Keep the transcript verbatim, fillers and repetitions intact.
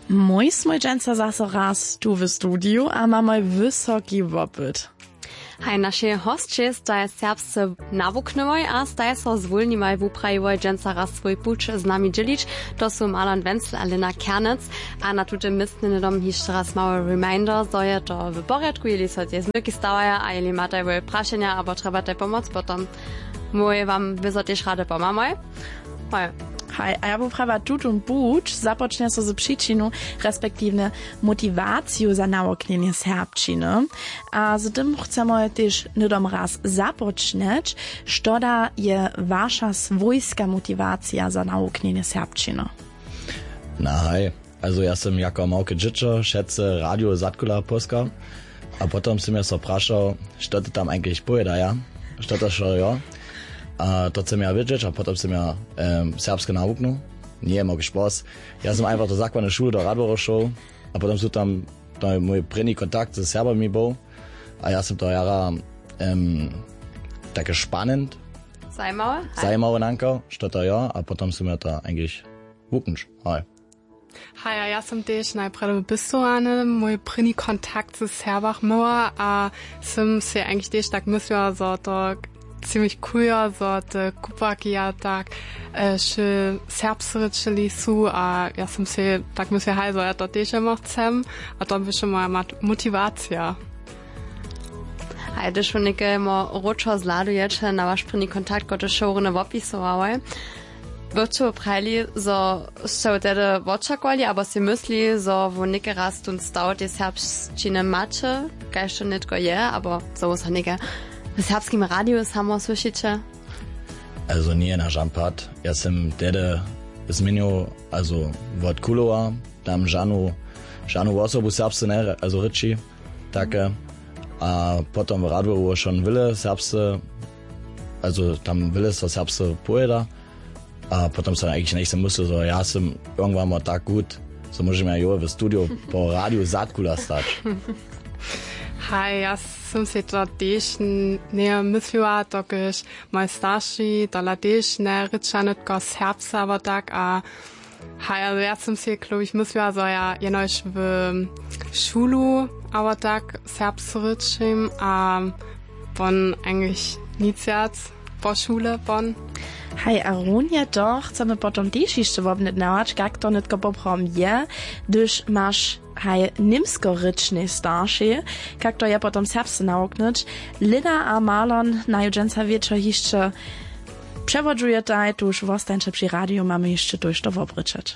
Mój smój dźensa zaso raz tu w studiju a mamoj wysoki wopyt. Haj, našej hosće staj serbsce nawuknyłoj a staj so zwólniłoj wuprajiłoj dźensa raz swój puć z nami dźělić. To su Marlon Wenzel a Lena Kernec. A na tutym městnje hnydom hišće raz mały reminder, zo je to w porjadku, jeli so tež zmyrki stawaja a jeli mataj woj prašenja abo trjebataj pomoc, potom mój wam wězo tež rady pomamoj. Hoj. Haj, a ja bu prawa tutón puć započnja so z přičinu, respektiwnje motiwaciju za nawuknjenje serbšćiny. A z tym chcemy tež hnydom raz započnjeć. Što da je waša swójska motiwacija za nawuknjenje serbšćiny? Na haj, also ja sym jako małke dźěćo wšetce radio zadkula poskał. A potom sym ja so prašał, što ty tam eigentlich powědaja, što to wšo jo. A to chcem ja wědźeć a potom sym ja em, serbske nawuknył. Njeje mógł špos. Ja sym einfach do zakładnej šuly do Radworja šoł. A potom su tam, to je mój prěni kontakt ze Serbami był. A ja sym to jara em, take spannend, Zajimawe? Haj. Zajimawe nankał, što to jo. A potom sym ja to eigentlich wuknąć. Hoj. Haj, a ja sym tež najprjedy w Běstorany mój prěni kontakt z Serbach měła a sym sej eigentlich tež tak mysliła, zo to ziemlich cool jo, zo te kupłarki ja tak e, wšě serbsce rěčeli su a ja sym sej tak mysliła, haj, zo ja to tež jemo chcem. A to běše moja mat- motiwacija. Haj, hdyž wón někajemo wróćo zhladujeće na waš prěni kontakt, kotryž wšo rune wopisowałoj, bychu prajili, zo sće wtedy wočakowali abo sej mysli, zo wón někaj raz tón staw tej serbšćiny maće, kaž to nětko je, abo zo wón so někaj w serbskim radiju samo słyšiće? Also njeje na žan pad. Ja sym tehdy změnił, also wot kulowa, tam žanu žanu wosobu serbsce nje, also rěči take. A potom w radworju wšon wyle serbsce, also tam wyle so serbsce powěda. A potom so eigentlich njech sym myslił, zo ja sym irgendwann mal tak gut, zo móžem ja jo w studiju po radiju zadkula stać. Haj, ja sym sej to tež n- njeje mysliła, dokelž moj starši tola tež njerěča nětko serbsce abo tak a haj, ale ja sym sej klowich mysliła, zo ja jenož w šulu abo tak serbsce rěčim a wón eigentlich nic wjac po šule pon. Haj, a runje to chcemy potom tež hišće wobnjednjawać, kak to nětko poprawom je, hdyž maš haj němskorěčnej staršej, kak to je potom serbsce nawuknyć. Lena a Marlon naju dźensa wječor hišće přewodźujetaj, tuž wostańće při radiju, mamy hišće tójšto wobrěčeć.